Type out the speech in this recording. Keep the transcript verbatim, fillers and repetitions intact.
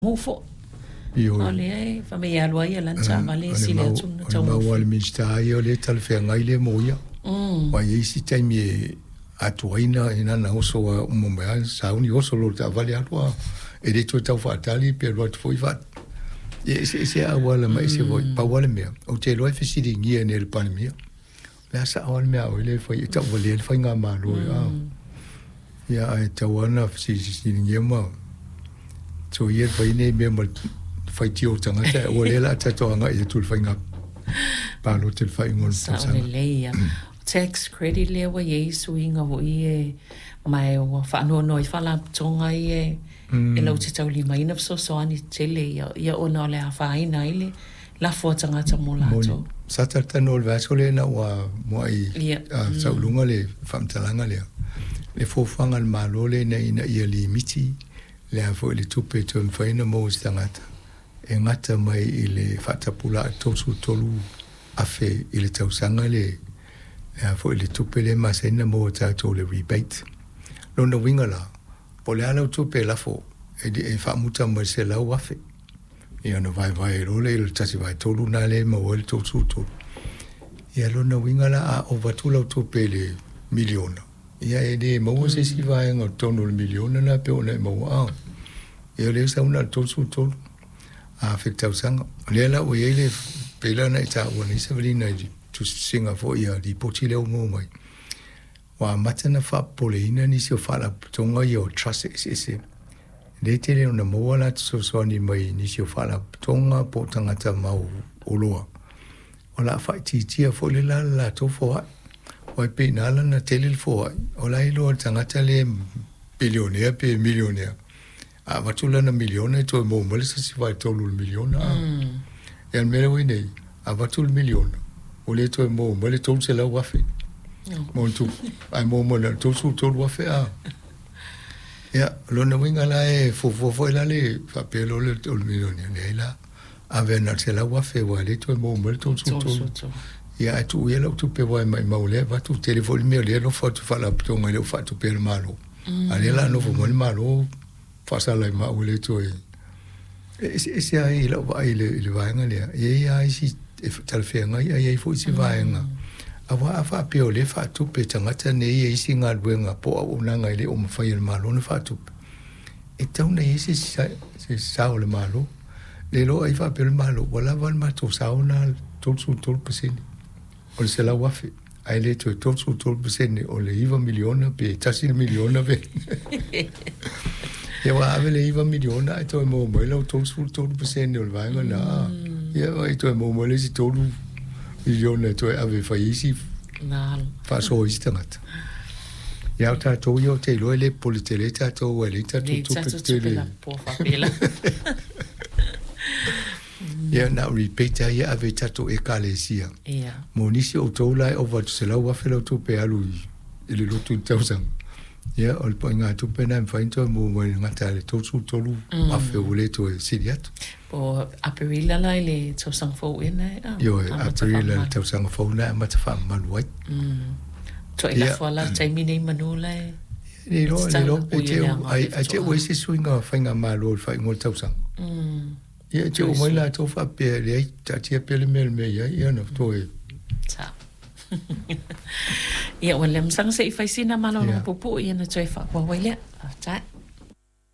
Mo o lea e faamai e alu ai ia lana taavale e sili atu ona O le mau a le Minisita ia o lea e talafeagai lea mo ia. Aua e i ai isi taimi e atoaina i lana oso a uma mai lava sauni oso loa i le taavale alu a e le toe tau faatali pe alu atu foi faa ia e eseese lava auala ma ese foi. Pau lava le mea, ou te iloa e fesiligia nei e le Palemia, o le a sao lava le mea a oe lea e fai e tauvalea le faigamalo ia ae tatau lava ona fesiligia ma soia le fai nei mea ma le faitio o tagata aua o lea o le a tatou agai atu i le faiga palota i le faaiuga o le Sao tausaga. Lelei ia. Tax credit lea ua i ai suiga foi e ma e ua faanoanoa ai faalapotopotoga ia e lau te taulimaina fesoasoani tele ia ia ona o le afaina ai le lafo a tagata mo latou. Sa talatalanoa i le vaiaso lea ina ua muai Ia. sauluga le faamatalaga lea, le fuafuaga a le Malo lea ina ina ia limiti le a foi le tupe e toe mafai ona maua e se tagata e gata mai i le faatapulaa tolusefulu tolu afe i le tausaga le le a foi le tupe lea e masani ona maua e tatou le rebate. Lona uiga la, po o le a lau tupe e lafo e, e faamuta mai le selau afe, ia ona vaevae loa lea i le tasi vaetolu lena lea e maua ai le tolusefulu tolu. Ia lona uiga la a ova atu lau tupe i le miliona, ia e le maua se isi vaega o totonu o le miliona lena pei ona e maua a. Ia o lea e sau na o le tolusefulu tolu afe i le tausaga. O lea la ua i ai le pei la ona e taua nei Savalina i le tusitusiga foi a lipoti lea ua maua mai, ua amata ona faapopoleina nisi o faalapotopotoga ia o trust eseese. E le tele ona maua la fesoasoani mai nisi o faalapotopotoga po o tagata mau oloa. O le a faaitiitia foi le la le latou foai. Aua e pei na ala ona tele le foai, o la e iloa e le tagata lea bilionea pe milionea, a avatu lana miliona e toe maua mai le isi vaetolu o le miliona. Ia o le mea lea ua i ai nei, a avatu le miliona, ua le toe maua mai le tolu selau afe ma ona tupu, ae maua mai na o le tolusefulu tolu afe a. Ia, o lona uiga la e fuafua foi la le faapea loa le o le milionea, leai la, ave na o le selau afe aua e le toe maua mai le tolusefulu tolu. Ia ae tuu ia lau tupe aua e maumau o lea e avatu, tele foi le mea o lea e alofa atu i faalapotopotoga e le o faatupea e le Malo. A o lea o le a nofo mai le Malo faasala ai ma au e le toe. E eseese lava i lau vaai i le, i le vaega lea, e i ai lava isi e talafeagai ae i ai foi isi vaega. Aua a faapea o lea e faatupe e tagata nei e isi galuega po o auaunaga e le o mafai e le Malo ona faatupe, e tatau ona i ai se, se sao o le Malo. Le iloa ai faapea le Malo, ua lava le matou sao lena tolusefulu tolu pasene o le selau afe, ae le toe tolusefulu tolu pasene o le iva miliona pe tasi le miliona pe. Ia ua ave le iva miliona ae toe maua mai lau tolusefulu tolu pasene o le vaega lena. Ia ua toe maua mai le isi tolu miliona e toe ave e fai isi faasoa isi tagata. Ia o tatou ia ou te iloa e le popole tele tatou aua e leai tatou tupe tetele. Ia na o rebate lava ia e ave i tatou Ekalesia. Mo nisi o outou la e ova atu selau afe lau tupe e alu i le lotu i le tausaga. Ia o le ituaiga tupe lena e mafai ona toe maua mai i le gata i le tolusefulu tolu afe ua le toe sili atu. Po o Aperila la i le tausaga fou ea na e Ioe, Aperila i le tausaga fou na e amata faamamalu ai. Tuai lafo lava la le taimi nei manu la e Le iloa, le iloa pe te ai, ai te ua i se suiga faigamalo i le faaiuga o le tausaga. Ia, e te oo mai latou faapea, leai, taatia pea le mea i le mea e i ai, ia ona toe. Sao. Ia, ua le masaga se i fai sina malologa puupuu ia ona toe faaauau ai lea. Faafetai.